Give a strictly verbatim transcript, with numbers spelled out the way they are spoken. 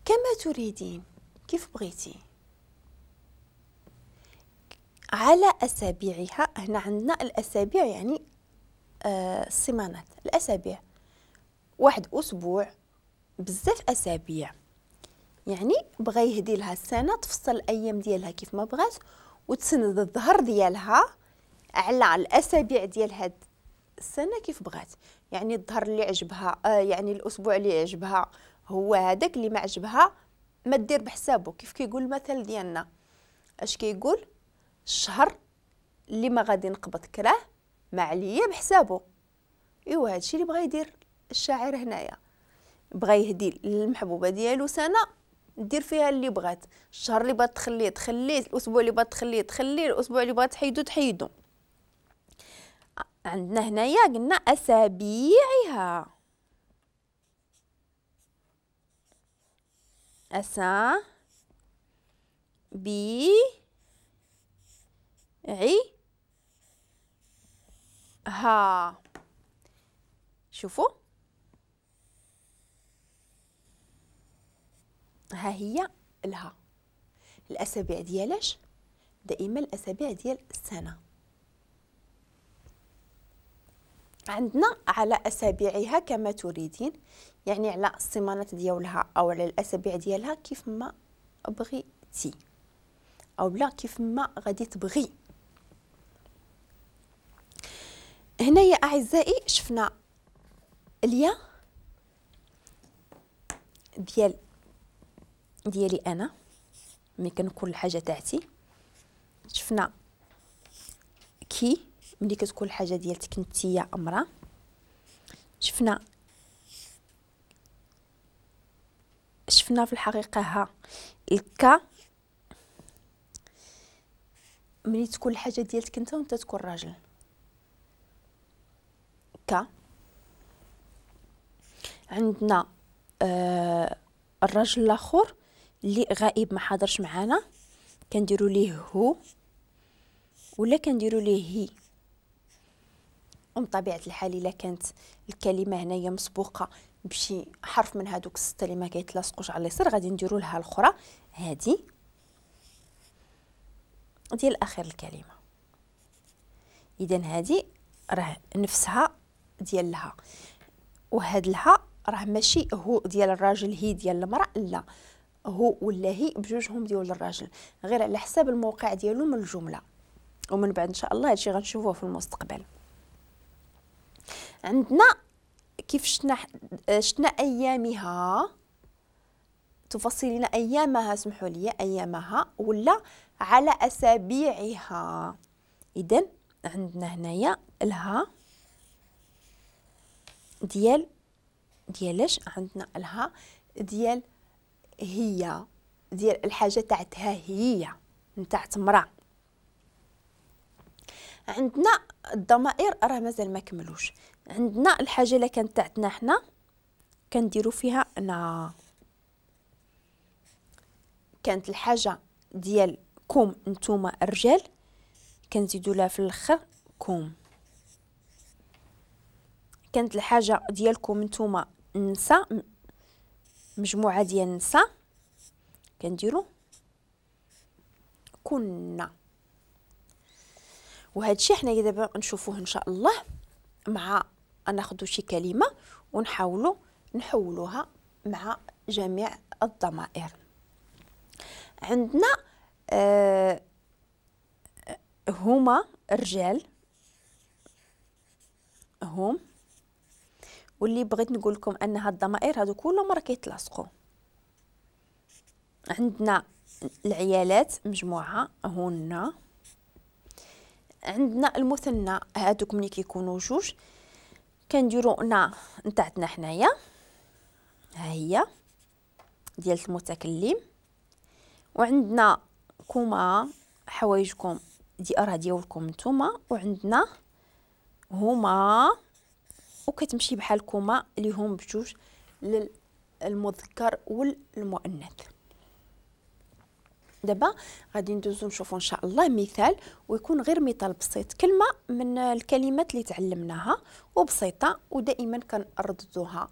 كما تريدين، كيف بغيتي. على أسابيعها، هنا عندنا الأسابيع يعني آه السيمانات، الأسابيع واحد أسبوع بزاف أسابيع، يعني بغى يهدي لها السنة تفصل الأيام ديالها كيف ما بغات وتسند الظهر ديالها على الأسابيع ديال هاد السنة كيف بغات. يعني الظهر اللي عجبها آه يعني الأسبوع اللي عجبها هو هذاك، اللي ما عجبها ما دير بحسابه. كيف كيقول المثل ديالنا، اش كيقول؟ الشهر اللي ما غادي نقبض كراه ما عليا بحسابه. ايوا هادشي اللي بغى يدير الشاعر هنايا، بغى يهدي للمحبوبه ديالو سنة دير فيها اللي بغات، الشهر اللي بغات تخليه تخليه، الاسبوع اللي بغات تخليه تخليه، الاسبوع اللي بغات تحيدو تحيدو. عندنا هنايا قلنا اسابيعها، اسا بي عي ها. شوفوا ها هي الها، الاسابيع ديالاش؟ دائما الاسابيع ديال السنة. عندنا على اسابيعها كما تريدين، يعني على السيمانات ديالها او على الاسابيع ديالها كيف ما بغيتي او لا كيف ما غادي تبغي. هنا يا اعزائي شفنا اليا ديال ديالي انا ملي كنكون الحاجة تاعتي، شفنا كي ملي كتكون الحاجة ديالتك نتيا امراة، شفنا شفنا في الحقيقة ها الكا ملي تكون الحاجة ديالتك انت وانت تكون راجل، ك. عندنا آه الرجل الاخر اللي غائب ما حاضرش معانا كنديروا ليه هو ولا كنديروا ليه هي. ومن طبيعة الحال الا كانت الكلمة هنايا مسبوقة بشي حرف من هادوك الستة اللي ما كيتلاصقوش على اليسار غادي نديروا لها الاخرى هادي ديال اخر الكلمة. اذا هادي راه نفسها ديال لها، وهاد لها راه ماشي هو ديال الراجل هي ديال المراة، لا هو ولا هي بجوجهم ديال الراجل، غير على حساب الموقع ديالو من الجملة. ومن بعد ان شاء الله هادشي غنشوفوه في المستقبل. عندنا كيف شتنا شتنا ايامها، تفصلين ايامها، سمحوا لي ايامها ولا على اسابيعها. اذا عندنا هنايا الها ديال ديالاش؟ عندنا الها ديال هي، ديال الحاجة تاعتها هي نتاعت مرا. عندنا الضمائر راه مازال ما كملوش. عندنا الحاجة اللي كانت تاعتنا حنا كنديرو فيها نا، كانت الحاجة ديال كوم نتوما الرجال كنزيدو لها في الاخر كوم، كانت الحاجة ديالكم نتوما النساء مجموعة ديال النساء كنديرو كنا. وهذا الشيء حنا دابا نشوفوه ان شاء الله مع ناخذ شي كلمة ونحاولوا نحولوها مع جميع الضمائر. عندنا آه هما الرجال هم، واللي بغيت نقول لكم ان هاد الضمائر هادو كلهم راه كيتلاصقوا. عندنا العيالات مجموعة هن، عندنا المثنى هادوك ملي كيكونوا جوج كنديروا نا نتاعتنا حنايا ها هي ديال المتكلم، وعندنا كما حوايجكم دي راه ديالكم نتوما، وعندنا هما وكتمشي بحال كما اللي هم بجوج للمذكر والمؤنث. دابا غادي ندوزو نشوفو ان شاء الله مثال، ويكون غير مثال بسيط، كلمة من الكلمات اللي تعلمناها وبسيطة ودائما كنرددوها.